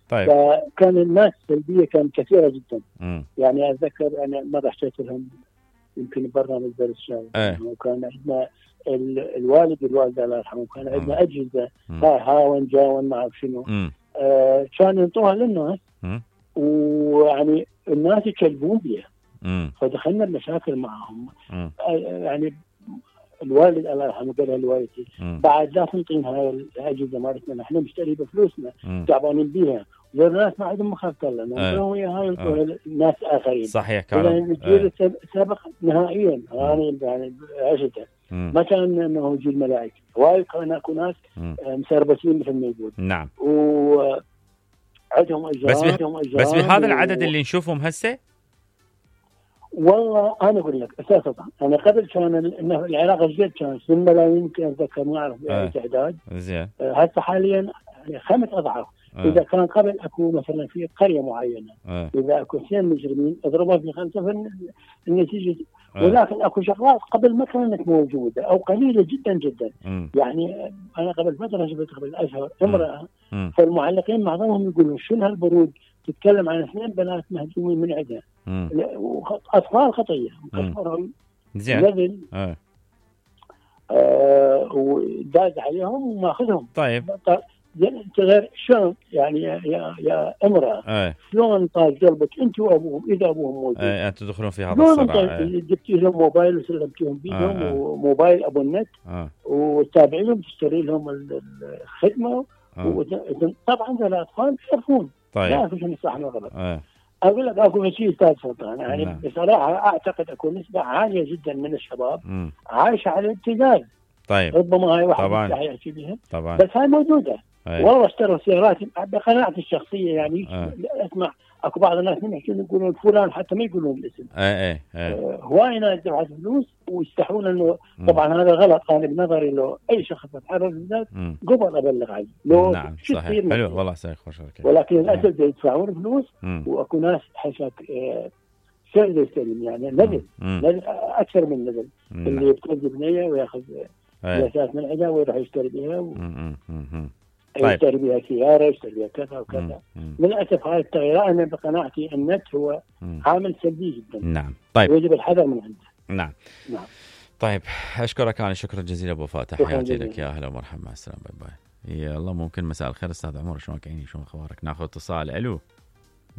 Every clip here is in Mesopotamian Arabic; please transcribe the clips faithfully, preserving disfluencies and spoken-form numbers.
طيب. فكان الناس السلبيه كانت كثيره جدا. م. يعني اتذكر انا مره حكيت لهم يمكن برنامج درس الشارع، ايه. وكان عندنا الوالد والوالده الله يرحمهم كان عندنا اجهزه م. هاي هاون جاون ما اعرف شنو، آه كانوا ينطوها للناس، م. ويعني الناس يكلبون بها. م. فدخلنا بمشاكل معهم. م. يعني الوالد الله يرحمه قال لوالدتي بعد لا تنطينا هاي الاجهزه مالتنا، نحن نشتري بفلوسنا تعبانين بيها، والناس ما عندهم مخاف الله ننطوها وياها ينطوها لناس اخرين. صحيح كلام. الجيل السابق نهائيا يعني يعني عشته ما كان انه جيل ملائكه، وايد كان اكو ناس مسربسين مثل ما يقول. نعم. و عندهم اجراءات بس, بس بهذا العدد و... اللي نشوفهم هسه. والله انا اقول لك اساسا انا قبل كان العراق الجديد كان سن ملايين يمكن اتذكر ما اعرف باي تعداد. زين. هسه حاليا خمس اضعاف. أه. اذا كان قبل اكو مثلا في قريه معينه أه. اذا اكو اثنين مجرمين اضربوا في خمسه في النتيجه. أه. ولكن اكو شغلات قبل ما كانت موجوده او قليله جدا جدا. م. يعني انا قبل فتره شفت قبل اشهر امراه، فالمعلقين معظمهم يقولون شنو هالبرود، تتكلم عن اثنين بنات مهجومين من عندها، اطفال خطيه مكسرهم زين. اه آه وداز عليهم وماخذهم. طيب انت غير شلون يعني يا يا, يا امراه أه. شلون طال قلبك انت وابوهم اذا ابوهم موجود؟ أه. انتم تدخلون في هذا الصراع. جبتي لهم موبايل وسلمتيهم بيدهم أه. وموبايل ابو النت أه. وتابعين لهم تشتري لهم الخدمه. أه. طبعا الاطفال يعرفون طيب. لا شنو صح ولا غلط. أه. اقول لك اكو شيء استاذ سلطان يعني نعم. بصراحه اعتقد اكو نسبه عاليه جدا من الشباب م. عايشه على الابتذال. طيب. ربما هاي واحد طبعا يحكي بها طبعا بس هاي موجوده. أي. والله اشتروا سيارات بقناعتي الشخصيه يعني. أه. اسمع اكو بعض الناس من يحكون يقولون فلان حتى ما يقولون الاسم. اي اي آه هواي ناس دفعت فلوس ويستحون انه طبعا هذا غلط. انا بنظري لو اي شخص يتحرك بالذات قبل ابلغ عنه لو. نعم صحيح حلو والله سيد خوش. ولكن للاسف يدفعون فلوس واكو ناس حشك آه سيد يستلم يعني نزل نزل اكثر من نزل اللي يبتدي بنيه وياخذ اساس من عندها ويروح يشتري بها و... طيب. يشتري بها سياره يشتري بها كذا وكذا. للاسف هاي التغييرات انا بقناعتي النت هو مم. عامل سلبي جدا. نعم. طيب ويجب الحذر من عنده. نعم نعم. طيب اشكرك انا شكرا جزيلا ابو فاتح. حياتي لك يا اهلا ومرحبا مع السلامه باي باي. يلا ممكن مساء الخير استاذ عمر شلونك عيني شلون اخبارك؟ ناخذ اتصال. الو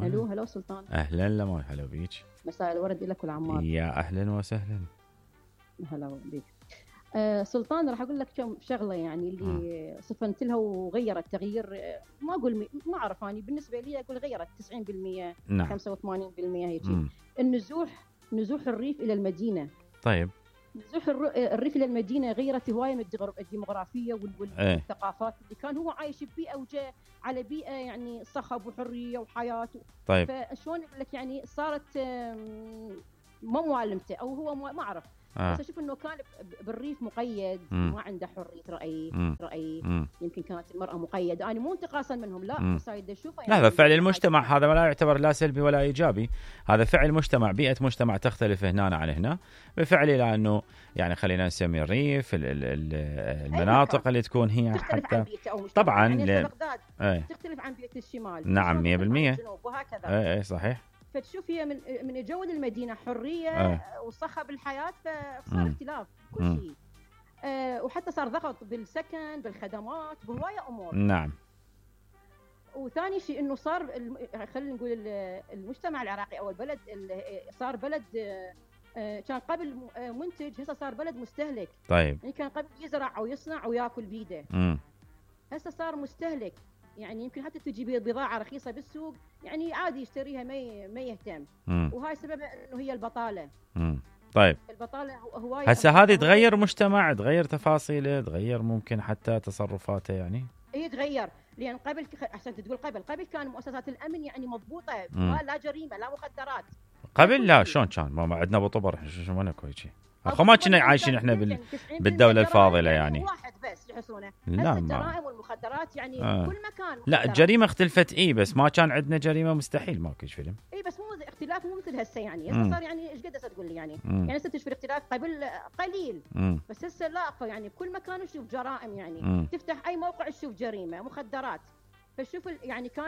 الو هلا سلطان. اهلا لما هلا بيك. مساء الورد لك والعمار. يا اهلا وسهلا. هلا بيك. آه سلطان راح اقول لك كم شغله يعني اللي م. صفنت لها وغيرت تغيير. ما اقول مي... ما اعرف اني بالنسبه لي اقول غيرت تسعين بالمئة نعم. خمسة وثمانين بالمئة هيك. النزوح نزوح الريف الى المدينه. طيب نزوح الريف الى المدينه غيرت هوايه من الديموغرافيه والثقافات اللي كان هو عايش ببيئه وجاء على بيئه يعني صخب وحريه وحياه. طيب فشلون اقول لك يعني صارت ما معلمته او هو ما اعرف. آه. بس اشوف انه كان بالريف مقيد. مم. ما عنده حريه راي. مم. راي مم. يمكن كانت المراه مقيده. انا مو انتقاصا منهم لا مم. بس هاي اشوفه يعني لا هذا فعل المجتمع. هذا لا يعتبر لا سلبي ولا ايجابي. هذا فعل مجتمع. بيئه مجتمع تختلف هنا عن هنا بفعل لانه يعني خلينا نسمي الريف المناطق اللي تكون هي حتى طبعا يعني بغداد ايه. تختلف عن بيئه الشمال. نعم مية بالمية وهكذا. اي اي صحيح. فتشوف هي من من جو المدينه حريه آه. وصخب الحياه فصار اختلاف كل شيء. آه وحتى صار ضغط بالسكن بالخدمات بهوايه امور. نعم. وثاني شيء انه صار خلينا نقول المجتمع العراقي او البلد صار بلد آه كان قبل منتج هسه صار بلد مستهلك. طيب يعني كان قبل يزرع او يصنع وياكل بيده. هسه صار مستهلك. يعني يمكن حتى تجي بضاعه رخيصه بالسوق يعني عادي يشتريها ما ما يهتم. مم. وهاي سببها انه هي البطاله. مم. طيب البطاله هوايه. هسه هذه تغير مجتمع تغير تفاصيله تغير ممكن حتى تصرفاته يعني. اي تغير لان قبل احسن تقول قبل قبل كان مؤسسات الامن يعني مضبوطه ما لا جريمه لا مخدرات. قبل لا شلون كان ما عندنا ابو طبر شو ما نكو شيء. اخو ما كنا عايشين احنا بال... بالدوله الفاضله يعني. واحد بس يحسونه. لا الجرائم والمخدرات يعني آه. كل مكان. لا الجريمه اختلفت اي بس ما كان عندنا جريمه مستحيل ماكو فيلم. اي بس مو اختلاف مو مثل هسه يعني هسه صار يعني ايش قد هسه تقول لي يعني مم. يعني هسه تشوف الاختلاف قبل قليل. مم. بس هسه لا يعني بكل مكان تشوف جرائم يعني. مم. تفتح اي موقع تشوف جريمه مخدرات. فشوف يعني كان